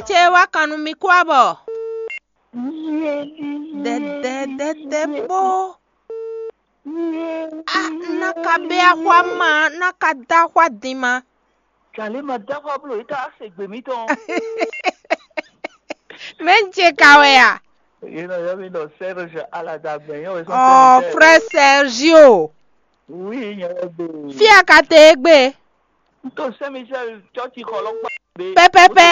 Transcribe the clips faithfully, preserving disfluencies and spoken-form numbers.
ce wá kan nú mì kú abɔ. Dɛdɛdɛdɛ kpó. A ná ka bɛ axwa ma, ná ka dá axwa din ma. Kalima dá axwa bló yě ká se gbè mítɔn. Mɛ ń ce ka wɛ a? Yě nɔ yɔ mí ɖɔ Serge Aladagbɛ yẹn wɛ sɔn. Ɔ, frère Sergio. Oui, nyɛ wɛ gbe. Fí a ka te e gbe? N to Saint Michel chɔ́chi xɔ lɔkpa. Pɛpɛpɛ.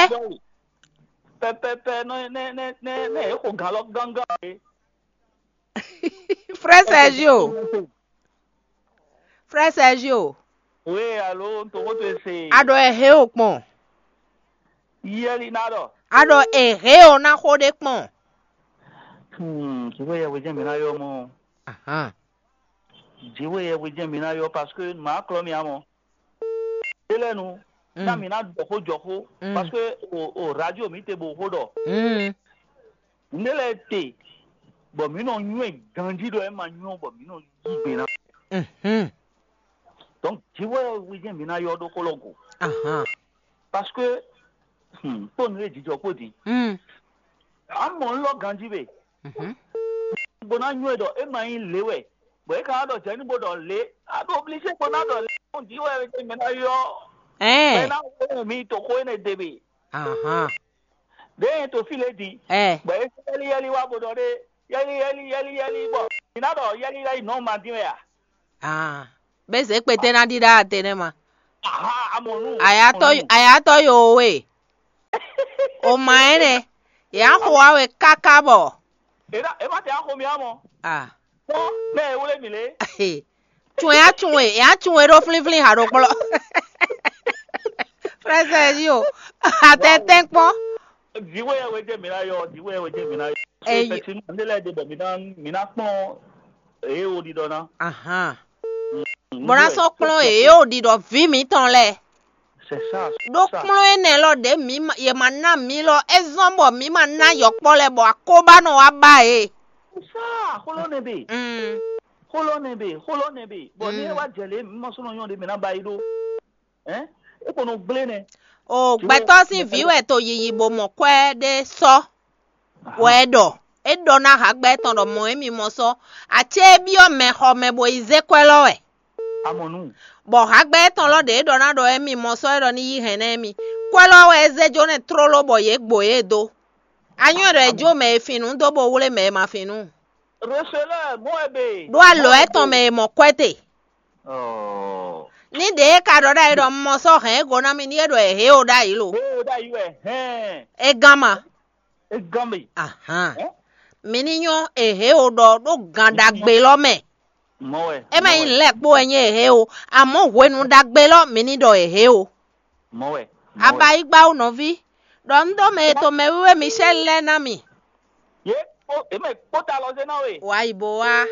Pɛpɛpɛ nɔ nɛ nɛ nɛ nɛ e xo gan lɔ gángan e. Frère Sergio. Frère Sergio. Oui, alo, n to xó to ese. A ɖɔ e he o kpɔn. Yɛli ná ɖɔ. A ɖɔ e he o ná xó ɖé kpɔn. Hmm, Jihweyɛhwe jɛ́n mi ná yɔ mɔ. Ahan. Jihweyɛhwe jɛ́n mi ná yɔ parce que mǎ klɔ́ mi amɔ. Élɛ́nu, ná mi ná ɖɔ xó jɔ xó, parce que o o radio mi te bo xó ɖɔ. Mm. Nǔɖé lɛ́ɛ te, bɔ mǐ nɔ nywɛ́ ganjí ɖɔ é ma nywɛ́ bɔ mǐ nɔ yí gbe ná. Mhm. Donc Jihweyɛhwe jɛ́n mi ná yɔ ɖó xó lɔ go. Ahan. Parce que hmm, kpó nǔ e jijɔ kpó din. Mm. Amɔ un lɔ ganjí be. Mhm. Bó ná nywɛ́ ɖɔ é ma nyí lě wɛ, bɔ é ka ná ɖɔ jɛ̌ nú bó ɖɔ lě, a ɖo obligé bó ná ɖɔ lě. Kpɔ́n jǐ wɛ é mɛ ná yɔ. Ɛɛ. Mɛ ná wɛ mi to xó énɛ́ ɖe be. Ahan. Ɖěe to fí lě din. Ɛɛ. Bɔ é yɛ́lí yɛ́lí wá bó ɖɔ ɖé, yɛ́lí yɛ́lí yɛ́lí yɛ́lí bɔ mi ná ɖɔ yɛ́lí yɛ́lí nɔ ma dín wɛ a? Ah, bɛ zɛ kpete na ɖi ɖa ate ne ma. Aha, amɔnu. Ayatɔ ayatɔ yo we. O ma ene. Ya xo awe kaka bɔ. Eda ema te axo mi amɔ. Ah. Kpɔ ne ewle mi le. Tun ya tun e, ya tun e ɖo flin flin ha ɖo kplɔ. Frère Sergio, atɛtɛ kpɔ. Diwe ya wɛ jɛ mi na yɔ, diwe ya wɛ jɛ mi na yɔ. Eyi. Pɛtinu ne lɛ de bɔ mi na mi na kpɔn eye wo ɖiɖɔ na. Ahan. Bɔ ná sɔ́ kplɔ́n yě o ɖiɖɔ vǐ mǐtɔn lɛ́ɛ. C'est ça. Ɖó kplɔ́n énɛ́ lɔ ɖě mǐ ma- yě ma ná mǐ lɔ é zɔ́n bɔ mǐ ma ná yɔkpɔ́ lɛ́ɛ bɔ akóbá nɔ wá ba yě. Sa xolɔ ne be. Mm. Xolɔ ne be, xolɔ ne be. Bɔ ni e wa jɛ le mɔ sɔnɔ nyɔ de mɛ na ba yi ɖo. Hein? E ko nɔ gblé nɛ. O gbɛtɔ́ sín vǐ wɛ to yiyi bo mɔ kwɛ́ ɖé sɔ́. Wɛ é ɖɔ. É ɖɔ ná hagbɛ tɔn ɖɔ mɔ̌ émí mɔ sɔ́. Acé é byɔ́ mɛ xɔ mɛ bo yi zé kwɛ́ lɔ wɛ. Amɔnu. Bɔ hagbɛ tɔn lɔ ɖě é ɖɔ ná ɖɔ émí mɔ sɔ́ é ɖɔ ní yí hɛn ná émí. Kwɛ́ lɔ wɛ é zé jó nɛ tlóló bɔ yě gbo yě dó. Anyɔ ɖɔ é jó mɛ e fin nǔ dó bo wlé mɛ e ma fin nǔ. Receleur mɔ ɛ be. Ɖó alɔ étɔn mɛ e mɔ kwɛ́ te. Oh. Ní ɖě é ka ɖɔ ɖ'ayǐ ɖɔ un mɔ sɔ́ hɛn é go ná mì ní é ɖɔ è hě o ɖ'ayǐ lo. Hé o ɖ'ayǐ wɛ hɛn. É gán ma. É gán mì. Ahan. Hɛn? Mi ní nyɔ́ è hě o ɖɔ ɖó gan ɖagbe lɔ mɛ. Mɔ wɛ. É ma nyí lɛ́ kpó wɛ nyí è hě o, àmọ́ hwenu ɖagbe lɔ mi ní ɖɔ è hě o. Mɔ wɛ. Abayigba o nɔví. Ɖɔ un ɖó mɛ e to mɛ wíwé Michel lɛ́ɛ ná mi. Yé kpó èmɛ kpó ta lɔ zé ná we. Wǎ yi bo wá.